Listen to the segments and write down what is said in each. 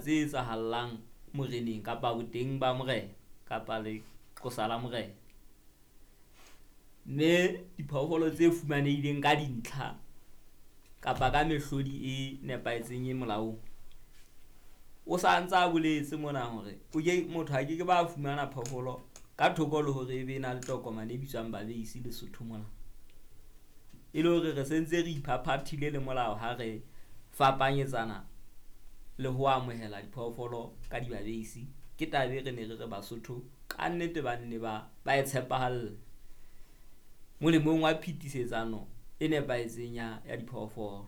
tse etsahallang moreneng kapa boteng ba morena kapa leqosa la morena. Mme diphoofolo tse fumanehileng ka dintlha kapa ka mehlodi e nepahetseng e molaong. O sa ntsa a boletse mona hore o ke motho a ke ke ba fumana phoofolo ka thoko le hore e be na le tokomane e bitswang babeisi Lesotho mona. E le hore re sentse re iphaphathile le molao ha re fapanyetsana le ho amohela diphoofolo ka dibabeisi. Ke taba e re ne re re Basotho ka nnete ba nne ba e tshepahalle molemong wa phetisetsano e nepahetseng ya diphoofolo.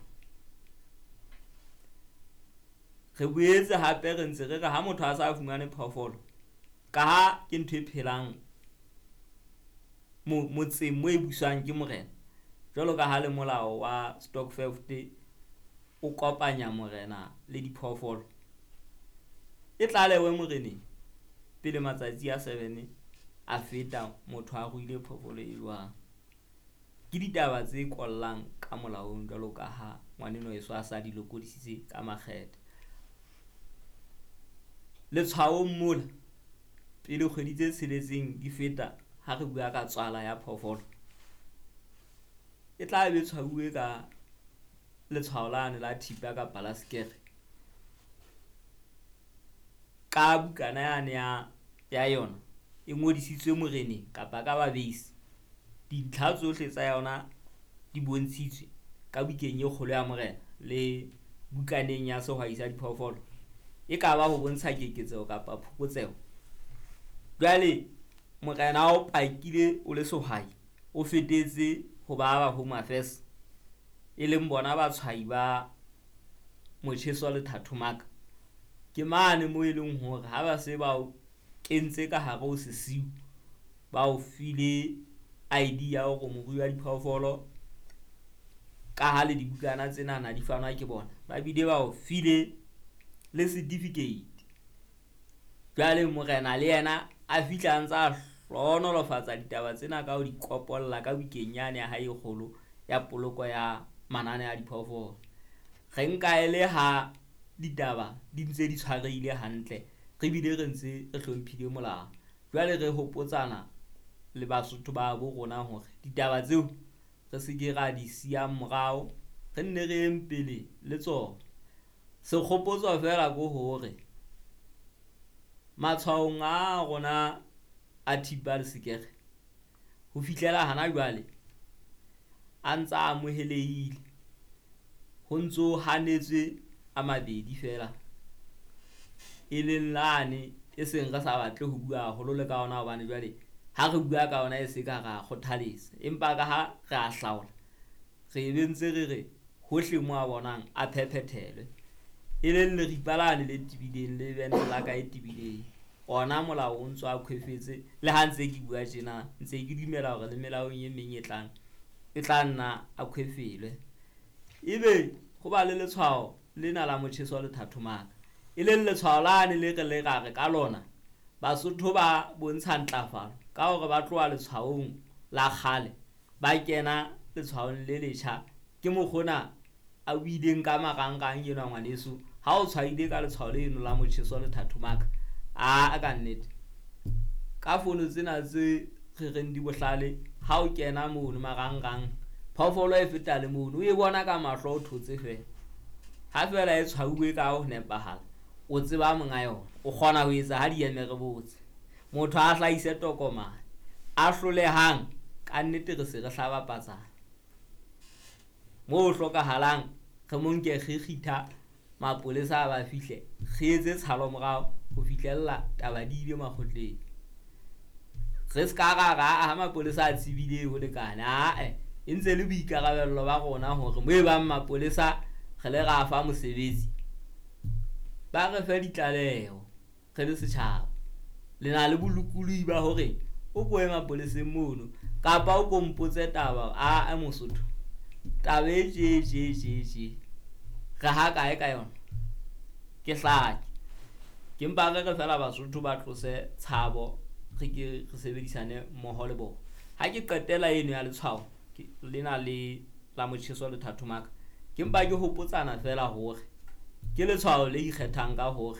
Re boetse hape re ntse re re ha motho a sa fumane phoofolo, ka ha ke ntho e phelang motseng mo e buswang ke morena, jwalo ka ha le molao wa stokvel o kopanya morena le diphoofolo, e tlalewe moreneng pele matsatsi a 7 a feta motho a ruile phoofolo e jwang. Ke ditaba tse kollang ka molaong jwalo ka ha ngwaneno heso a sa di lokodisitse ka makgethe. Letshwaong mola pele kgwedi tse tsheletseng di feta ha re bua ka tswala ya phoofolo, e tla be tshwauwe ka letshwao lane la thipa kapa la sekere ka bukana yane ya yona e ngodisitswe moreneng kapa ka babeisi. Dintlha tsohle tsa yona di bontshitswe ka bukeng e kgolo ya morena le bukaneng ya sehwai sa diphoofolo. E ka ba ho bontsha keketseho kapa phokotseho. Jwale morena o pakile o le sehwai, o fetetse ho ba Home Affairs, e leng bona batshwai ba motjheso le thathomaka. Ke mane mo e leng hore ha ba se ba o kentse ka hare ho sesiu, ba o file ID ya hore morui wa diphoofolo, ka ha le dibukana tsenana di fanwa ke bona, ba bile ba o file le certificate. Jwale morena le yena a fihla a ntsa hlohonolofatsa ditaba tsena ka ho di kopolla ka bukeng yane ya hae e kgolo ya poloko ya manane a diphoofolo. Re nka e le ha ditaba di ntse di tshwarehile hantle, re bile re ntse re hlomphile molao. Jwale re hopotsana le Basotho ba bo rona hore ditaba tseo re se ke ra di siyang morao, re nne re yeng pele le tsona. Sekgopotso feela ke hore matshwaong a rona a thipa le sekere ho fihlela hana jwale a ntsa amohelehile, ho ntso hanetswe a mabedi feela, e leng lane e seng re sa batle ho bua haholo le ka ona hobane jwale ha re bua ka ona e se ka ra kgothaletsa, empa ka ha re a hlaola re be ntse re re hohle mo a bonang a phephethelwe, e leng leripa lane le tebileng le bente la ka e tebileng. Ona molao o ntso a khwefetse le ha ntse ke bua tjena, ntse ke dumela hore le melaong e meng e tlang e tla nna a khwefelwe. Ebe ho ba le letshwao lena la motjheso le thathomaka, e leng letshwao lane le re le ra re ka lona Basotho ba bontsha ntlafalo ka hore ba tloha letshwaong la kgale ba kena letshwaong le letjha. Ke mokgona a buileng ka marangrang enwa ngwaneso, ha o tshwaile ka letshwao leno la motjheso le thathomaka, a ka nnete ka fono tsena tse re reng di bohlale, ha o kena mono marangrang phoofolo e feta le mono o e bona ka mahlo, o thotse feela. Ha feela e tshwauwe ka ho nepahala, o tseba monga yona, o kgona ho etsa ha di eme re botse. Motho a hlahise tokomane, a hlolehang ka nnete re se re hlaba patsana. Moo ho hlokahalang re mo nke re kgitha mapolesa a ba fihle, re etse tshalo morao ho fihlella taba di ile makgotleng. Re ska ra ra ha mapolesa a tsebile ho lekane, ae e ntse le boikarabello ba rona hore mo e bang mapolesa re le ra fa mosebetsi, ba re fe ditlaleho re le setjhaba. Le na le bolokolohi ba hore o ko ye mapoleseng mono kapa o ko mpotse taba, a Mosotho taba e tje tje tje tje re ha kae ka yona, ke hlake. Ke mpa re re fela Basotho ba tlose tshabo, re ke re sebedisane mmoho le bona. Ha ke qetela eno ya letshwao lena le la motjheso le thathomaka, ke mpa ke hopotsana fela hore ke letshwao le ikgethang ka hore